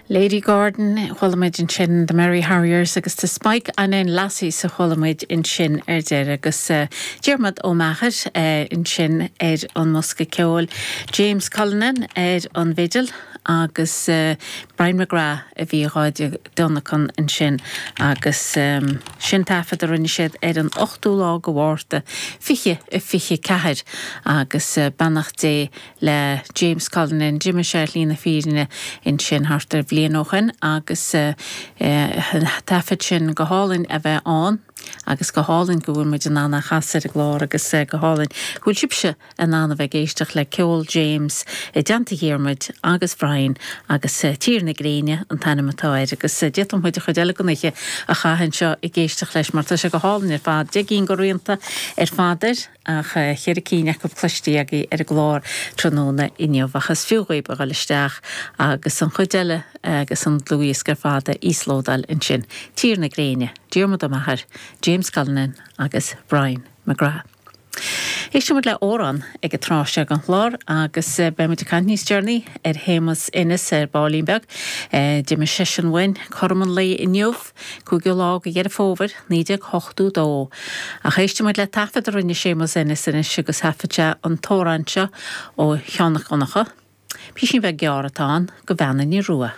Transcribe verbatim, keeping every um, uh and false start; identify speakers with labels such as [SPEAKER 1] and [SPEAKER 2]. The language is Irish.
[SPEAKER 1] Lady Gordon chuala muid ansin the Merry Harriers agus The Spike an Lassies a chuala muid ansin ar deireadh agus uh, Diarmuid Ó Meachair uh, ansin ar an mbosca ceoil, James Cullinan ar an bhfidil agus uh, Brian McGrath a bhí á thionlacan ansin agus um, sin taifead a rinne siad ar an ochtú lá de Mhárta fiche a fiche ceathair agus uh, beannacht Dé le James Cullinan d'imigh sé slí na fírinne ansin thart ar bhliain ó shin agus uh, uh, taifead sin go hálainn a bheith ann agus go hálainn go bhfuil muid in ann a chasadh ar an gclár agus uh, go hálainn go bhfuil sibhse in ann a bheith ag éisteacht le ceol James i dteannta Dhiarmuid agus Brian agus uh, Tír na Gréine an t-ainm atá air agus uh, d'fhéadfadh muid an chuid eile den oíche a chaitheamh anseo ag éisteacht leis mar tá sé go hálainn ar fad deich gcinn de rianta ar fad air ach cheithre cinn acu cloiste agaibh ar an gclár tráthnóna inniu ach is fiú dhaoibh a dhul isteach agus an chuid eile agus an dlúthdhiosca ar fad a íoslódáil ansin. Tír na Gréine, Diarmuid Ó Meachair, James Cullinan agus Brian McGrath. Éistfimid le amhrán ag an tráth seo den chlár agus beimid ag caint níos deireanaí ar Shéamus Ennis ar baillín beag, D'imigh seisean uainn cothrom an lae inniu, cúigiú lá de Dheireadh Fómhair, naoi déag ochtó dó. Ach éistfimid le taifead a rinne Séamus Ennis anois agus thaifead sé an t-amhrán seo ó Sheán Mac Donncha. Píosa beag gearr atá ann go Bhean Rua.